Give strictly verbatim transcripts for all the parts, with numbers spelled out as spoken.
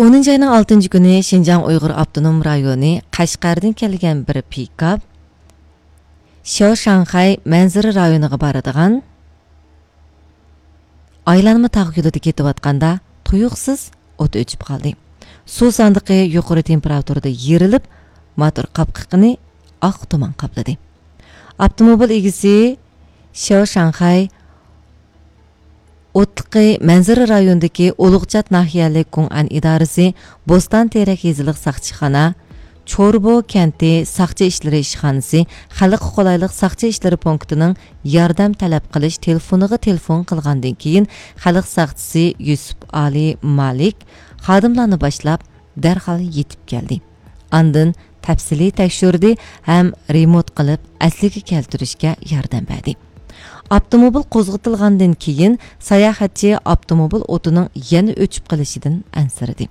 ئونىنچى ئاينىڭ ئالتىنچى كۈنى شىنجاڭ ئۇيغۇر ئاپتونوم رايونى قەشقەردىن كەلگەن بىر پىكاپ شياۋشاڭخەي مەنزىرە رايونىغا بارىدىغان ئايلانما تاغ يولىدا كېتىۋاتقاندا تۇيۇقسىز ئوت ئۆچۈپ قالدى. سۇ ساندۇقى يۇقىرى تېمپېراتۇرىدا يېرىلىپ، موتور قاپقىقىنى ئاق تۇمان قاپلىدى. ئاپتوموبىل ئىگىسى شياۋشاڭخەي ئوتلۇقى مەنزىرە رايونىدىكى ئۇلۇغچات ناھىيەلىك گۇڭئەن ئىدارىسى، بوستان تېرەك يېزىلىق ساقچىخانا، چوربو كەنتى ساقچى ئىشلىرى ئىشخانىسى، خەلققە قولايلىق ساقچى ئىشلىرى پونكىتىنىڭ ياردەم تەلەپ قىلىش تېلېفونىغا تېلېفون قىلغاندىن كېيىن، خەلق ساقچىسى يۈسۈپ ئالى مالىك خادىملارنى باشلاپ، دەرھال يېتىپ كەلدى. ئاندىن تەپسىلىي تەكشۈردى ھەم رېمونت قىلىپ، ئەسلىگە كەلتۈرۈشكە ياردەم بەردى. ئاپتوموبىل قوزغىتىلغاندىن كېيىن، ساياھەتچى ئاپتوموبىل ئوتىنىڭ يەنە ئۆچۈپ قېلىشىدىن ئەنسىرىدى.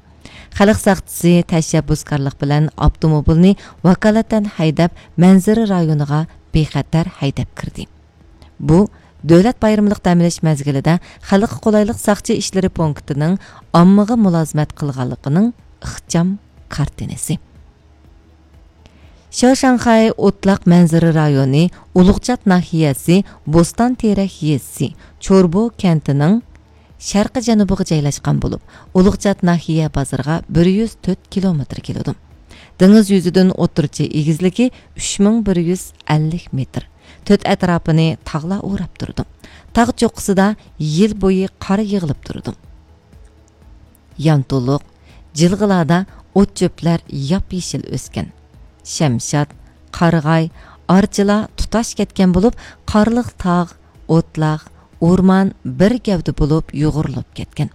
خەلق ساقچىسى تەشەببۇسكارلىق بىلەن ئاپتوموبىلنى ۋاكالىتەن ھەيدەپ، مەنزىرە رايونىغا بىخەتەر ھەيدەپ كىردى. بۇ، دۆلەت بايرىملىق دەم ئېلىش مەزگىلىدە خەلققە قولايلىق ساقچى ئىشلىرى پونكىتىنىڭ ئاممىغا مۇلازىمەت قىلغانلىقىنىڭ ئىخچام كارتىنىسى. شياۋشاڭخەي ئوتلاق مەنزىرە رايونى، ئۇلۇغچات ناھىيەسى، بوستان تېرەك يېزىسى، چوربو كەنتىنىڭ شەرقىي جەنۇبىغا جايلاشقان بولۇپ، ئۇلۇغچات ناھىيە بازىرىغا بىر يۈز تۆت كىلومېتىر كېلىدۇ. دېڭىز يۈزىدىن ئوتتۇرىچە ئېگىزلىكى ئۈچ مىڭ بىر يۈز ئەللىك مېتىر. تۆت ئەتراپىنى تاغلار ئوراپ تۇرىدۇ. تاغ چوققىسىدا يىل بويى قار يىغىلىپ تۇرىدۇ. يانتۇلۇق، جىلغىلاردا ئوت-چۆپلەر ياپيېشىل ئۆسكەن. شەمشاد، قارىغاي، ئارچىلار تۇتاش كەتكەن بولۇپ، قارلىق تاغ، ئوتلاق، ئورمان بىر گەۋدە بولۇپ يۇغۇرۇلۇپ كەتكەن.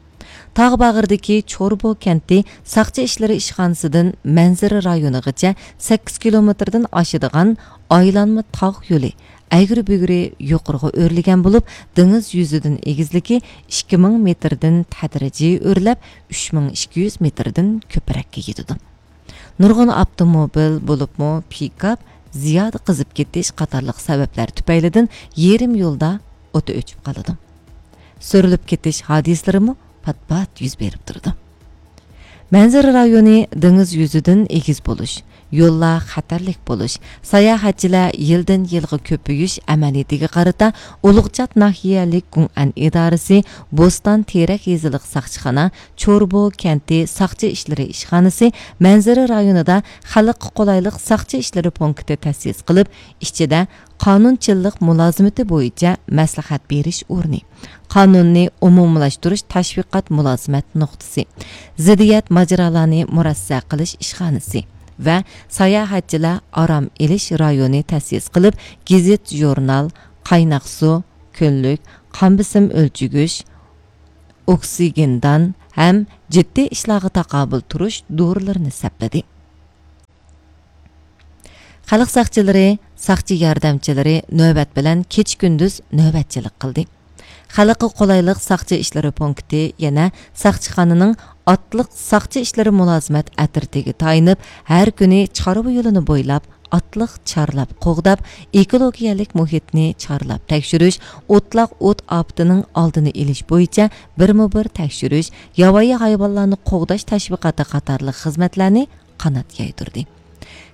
تاغ باغرىدىكى چوربو كەنتى ساقچى ئىشلىرى ئىشخانىسىدىن مەنزىرە رايونىغىچە سەككىز كىلومېتىردىن ئاشىدىغان ئايلانما تاغ يولى ئەگرى-بۈگرى يۇقىرىغا ئۆرلىگەن بولۇپ، دېڭىز يۈزىدىن ئېگىزلىكى ئىككى مىڭ مېتىردىن تەدرىجىي ئۆرلەپ، ئۈچ مىڭ ئىككى يۈز مېتىردىن كۆپرەككە يېتىدۇ. نۇرغۇن ئاپتوموبىل، بولۇپمۇ پىكاپ زىيادە قىزىپ كېتىش قاتارلىق سەۋەبلەر تۈپەيلىدىن يېرىم يولدا ئوتى ئۆچۈپ قالىدۇ. سۈرۈلۈپ كېتىش ھادىسىلىرىمۇ پات-پات يۈز بېرىپ تۇرىدۇ. مەنزىرە رايونى دېڭىز يۈزىدىن ئېگىز بولۇش، يوللار خەتەرلىك بولۇش، ساياھەتچىلەر يىلدىن يىلغا كۆپىيىش ئەمەلىيىتىگە قارىتا، ئۇلۇغچات ناھىيەلىك گۇڭئەن ئىدارىسى، بوستان تېرەك يېزىلىق ساقچىخانا، چوربو كەنتى ساقچى ئىشلىرى ئىشخانىسى، مەنزىرە رايونىدا خەلققە قولايلىق ساقچى ئىشلىرى پونكىتى تەسىس قىلىپ، ئىچىدە قانۇنچىللىق مۇلازىمىتى بويىچە مەسلىھەت بېرىش ئورنى، قانۇننى ئومۇملاشتۇرۇش تەشۋىقات مۇلازىمەت نۇقتىسى، زىددىيەت ماجىرالارنى مۇرەسسە قىلىش ئىشخانىسى ۋە ساياھەتچىلەر ئارام ئېلىش رايونى تەسىس قىلىپ، گېزىت، ژۇرنال، قايناق سۇ، كۈنلۈك، قان بېسىم ئۆلچىگۈچ، ئوكسىگېندان ھەم جىددىي ئىشلارغا تاقابىل تۇرۇش دورىلىرىنى سەپلىدى. خەلق ساقچىلىرى، ساقچى ياردەمچىلىرى نۆۋەت بىلەن كېچە-كۈندۈز نۆۋەتچىلىك قىلدى. خەلققە قولايلىق ساقچى ئىشلىرى پونكىتى يەنە ساقچىخانىنىڭ ئاتلىق ساقچى ئىشلىرى مۇلازىمەت ئەترىتىگە تايىنىپ، ھەر كۈنى چارۋا يولىنى بويلاپ، ئاتلىق چارلاپ قوغداپ، ئېكولوگىيەلىك مۇھىتنى چارلاپ تەكشۈرۈش، ئوتلاق ئوت ئاپىتىنىڭ ئالدىنى ئېلىش بويىچە بىرمۇبىر تەكشۈرۈش، ياۋايى ھايۋانلارنى قوغداش تەشۋىقاتى قاتارلىق خىزمەتلەرنى قانات يايدۇردى.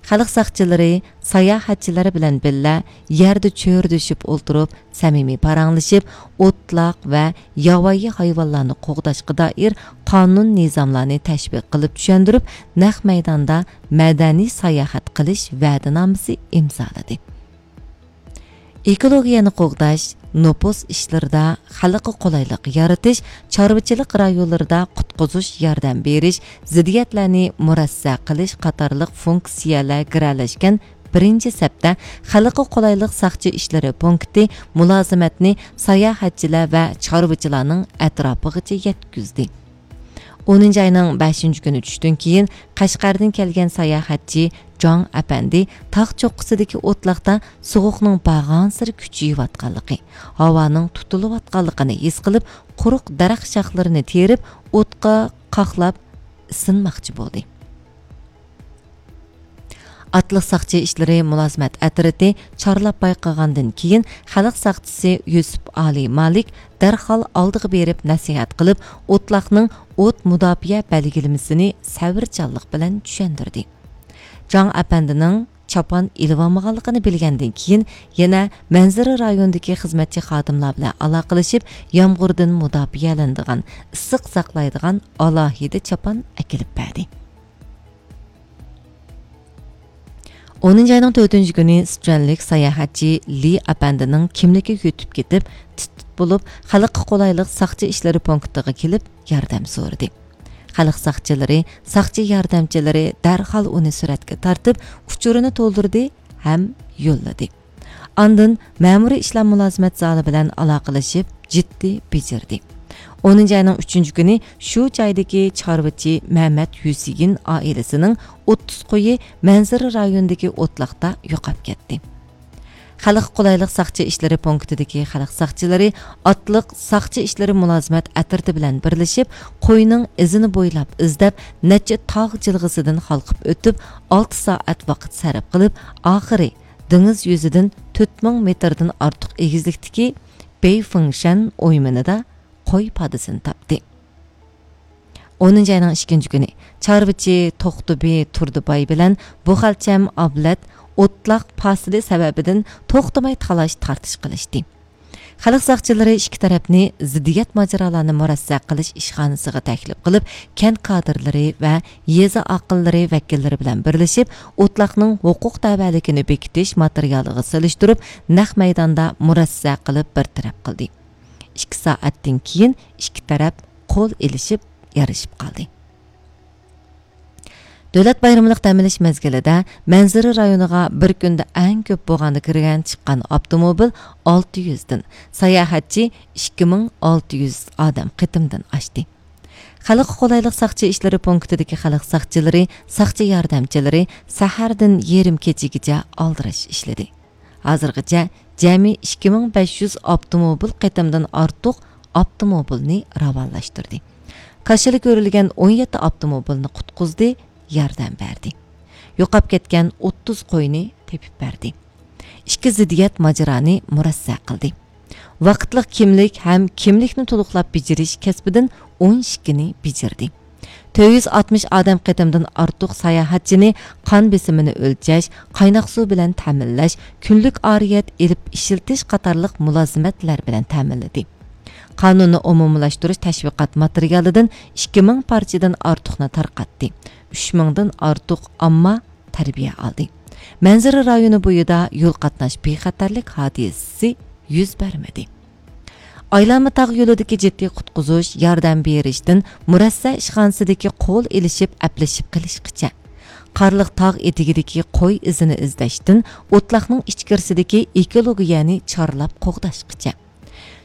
خەلق ساقچىلىرى ساياھەتچىلەر بىلەن بىللە يەردە چۆرىدىشىپ ئولتۇرۇپ، سەمىمىي پاراڭلىشىپ، ئوتلاق ۋە ياۋايى ھايۋانلارنى قوغداشقا دائىر قانۇن نىزاملارنى تەشۋىق قىلىپ چۈشەندۈرۈپ، نەق مەيداندا مەدەنىي ساياھەت قىلىش ۋەدىنامىسى ئىمزالىدى. ئېكولوگىيەنى قوغداش، نوپۇس ئىشلىرىدا خەلققە قولايلىق يارىتىش، چارۋىچىلىق رايونلىرىدا قۇتقۇزۇش ياردەم بېرىش، زىددىيەتلەرنى مۇرەسسە قىلىش قاتارلىق فۇنكسىيەلەر گىرەلەشكەن بىرىنچى سەپتە خەلققە قولايلىق ساقچى ئىشلىرى پونكىتى مۇلازىمەتنى ساياھەتچىلەر ۋە چارۋىچىلارنىڭ ئەتراپىغىچە يەتكۈزدى. ئونىنچى ئاينىڭ بەشىنچى كۈنى چۈشتىن كېيىن، قەشقەردىن كەلگەن ساياھەتچى جاڭ ئەپەندى تاغ چوققىسىدىكى ئوتلاقتا سوغۇقنىڭ بارغانسېرى كۈچىيىۋاتقانلىقى، ھاۋانىڭ تۇتۇلۇۋاتقانلىقىنى ھېس قىلىپ، قۇرۇق دەرەخ شاخلىرىنى تېرىپ، ئوتقا قاقلاپ ئىسسىنماقچى بولدى. ئاتلىق ساقچى ئىشلىرى مۇلازىمەت ئەترىتى چارلاپ بايقىغاندىن كېيىن، خەلق ساقچىسى يۈسۈپ ئالى مالىك دەرھال ئالدىغا بېرىپ نەسىھەت قىلىپ، ئوتلاقنىڭ ئوت مۇداپىئە بەلگىلىمىسىنى سەۋرچانلىق بىلەن چۈشەندۈردى. جاڭ ئەپەندىنىڭ چاپان ئېلىۋالمىغانلىقىنى بىلگەندىن كېيىن، يەنە مەنزىرە رايونىدىكى خىزمەتچى خادىملار بىلەن ئالاقىلىشىپ، يامغۇردىن مۇداپىئەلىنىدىغان، ئىسسىق ساقلايدىغان ئالاھىدە چاپان ئەكېلىپ بەردى. ئونىنچى ئاينىڭ تۆتىنچى كۈنى سىچۈەنلىك ساياھەتچى لى ئەپەندىنىڭ كىملىكى يۆتۈپ كېتىپ، تىت-تىت بولۇپ، خەلققە قولايلىق ساقچى ئىشلىرى پونكىتىغا كېلىپ، ياردەم سورىدى. خەلق ساقچىلىرى، ساقچى ياردەمچىلىرى دەرھال ئۇنى سۈرەتكە تارتىپ، ئۇچۇرىنى تولدۇردى ھەم يوللىدى. ئاندىن مەمۇرىي ئىشلار مۇلازىمەت زالى بىلەن ئالاقىلىشىپ، جىددىي بېجىردى. ئونىنچى ئاينىڭ ئۈچىنچى كۈنى شۇ جايدىكى چارۋىچى مەمەت ھۈسېيىن ئائىلىسىنىڭ ئوتتۇز قويى مەنزىرە رايونىدىكى ئوتلاقتا يوقاپ كەتتى. خەلققە قولايلىق ساقچى ئىشلىرى پونكىتىدىكى خەلق ساقچىلىرى ئاتلىق ساقچى ئىشلىرى مۇلازىمەت ئەترىتى بىلەن بىرلىشىپ، قوينىڭ ئىزىنى بويلاپ ئىزدەپ، نەچچە تاغ جىلغىسىدىن ھالقىپ ئۆتۈپ، ئالتە سائەت ۋاقىت سەرپ قىلىپ، ئاخىرى دېڭىز يۈزىدىن تۆت مىڭ مېتىردىن ئارتۇق ئېگىزلىكتىكى بېيفېڭشەن ئويمىنىدا قوي پادىسىنى تاپتى. ئونىنچى ئاينىڭ ئىككىنچى كۈنى چارۋىچى توختىبى تۇردىباي بىلەن بۇخەلچەم ئابلەت ئوتلاق پاسىلى سەۋەبىدىن توختىماي تالاش-تارتىش قىلىشتى. خەلق ساقچىلىرى ئىككى تەرەپنى زىددىيەت ماجىرالارنى مۇرەسسە قىلىش ئىشخانىسىغا تەكلىپ قىلىپ، كەنت كادىرلىرى ۋە يېزا ئاقىللىرى ۋەكىللىرى بىلەن بىرلىشىپ، ئوتلاقنىڭ ھوقۇق دەۋالىكىنى بېكىتىش ماتېرىيالىغا سېلىشتۇرۇپ، نەق مەيداندا مۇرەسسە قىلىپ بىر تەرەپ قىلدى. ئىككى سائەتتىن كېيىن ئىككى تەرەپ قول ئېلىشىپ، يارىشىپ قالدى. دۆلەت بايرىملىق دەم ئېلىش مەزگىلىدە مەنزىرە رايونىغا بىر كۈندە ئەڭ كۆپ بوغاندا كىرگەن چىققان ئاپتوموبىل ئالتە يۈزدىن، ساياھەتچى ئىككى مىڭ ئالتە يۈز ئادەم قېتىمدىن ئاشتى. خەلققە قولايلىق ساقچى ئىشلىرى پونكىتىدىكى خەلق ساقچىلىرى، ساقچى ياردەمچىلىرى سەھەردىن يېرىم كېچىگىچە ئالدىراش ئىشلىدى. ھازىرغىچە جەمئىي ئىككى مىڭ بەش يۈز ئاپتوموبىل قېتىمدىن ئارتۇق ئاپتوموبىلنى راۋانلاشتۇردى. كاشىلا كۆرۈلگەن ئون يەتتە ئاپتوموبىلنى قۇتقۇزدى، ياردەم بەردى. يوقاپ كەتكەن ئوتتۇز قوينى تېپىپ بەردى. ئىككى زىددىيەت ماجىرانى مۇرەسسە قىلدى. ۋاقىتلىق كىملىك ھەم كىملىكنى تولۇقلاپ بېجىرىش كەسپىدىن ئون ئىككىنى بېجىردى. تۆت يۈز ئاتمىش ئادەم قېتىمدىن ئارتۇق ساياھەتچىنى قان بېسىمىنى ئۆلچەش، قايناق سۇ بىلەن تەمىنلەش، كۈنلۈك ئارىيەت ئېلىپ ئىشلىتىش قاتارلىق مۇلازىمەتلەر بىلەن تەمىنلىدى. قانۇننى ئومۇملاشتۇرۇش تەشۋىقات ماتېرىيالىدىن ئىككى مىڭ پارچىدىن ئارتۇقنى تارقاتتى. ئۈچ مىڭدىن ئارتۇق ئامما تەربىيە ئالدى. مەنزىرە رايونى بويىدا يول قاتناش بىخەتەرلىك ھادىسىسى يۈز بەرمىدى. ئايلانما تاغ يولىدىكى جىددىي قۇتقۇزۇش، ياردەم بېرىشتىن مۇرەسسە ئىشخانىسىدىكى قول ئېلىشىپ ئەپلىشىپ قېلىشقىچە، قارلىق تاغ ئېتىكىدىكى قوي ئىزىنى ئىزدەشتىن ئوتلاقنىڭ ئىچكىرىسىدىكى ئېكولوگىيەنى چارلاپ قوغداشقىچە،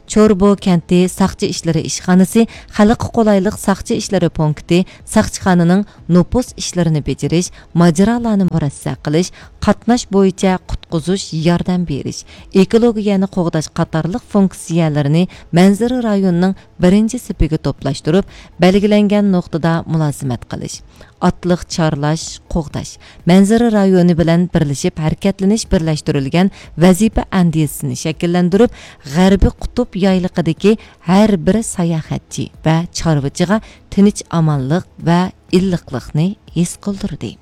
چوربو كەنتى ساقچى ئىشلىرى ئىشخانىسى، خەلققە قولايلىق ساقچى ئىشلىرى پونكىتى، ساقچىخانىنىڭ نوپۇس ئىشلىرىنى بېجىرىش، ماجىرالارنى مۇرەسسە قىلىش، قاتناش بويىچە قۇتقۇزۇش، ياردەم بېرىش، ئېكولوگىيەنى قوغداش قاتارلىق فۇنكسىيەلىرىنى مەنزىرە رايونىنىڭ بىرىنچى سېپىگە توپلاشتۇرۇپ، بەلگىلەنگەن نۇقتىدا مۇلازىمەت قىلىش، ئاتلىق چارلاش، قوغداش، مەنزىرە رايونى بىلەن بىرلىشىپ ھەرىكەتلىنىش بىرلەشتۈرۈلگەن ۋەزىپە ئەندىزىسىنى شەكىللەندۈرۈپ، غەربىي قۇتۇپ يايلىقىدىكى ھەر بىر ساياھەتچى ۋە چارۋىچىغا تىنچ-ئامانلىق ۋە ئىللىقلىقنى ھېس قىلدۇردى.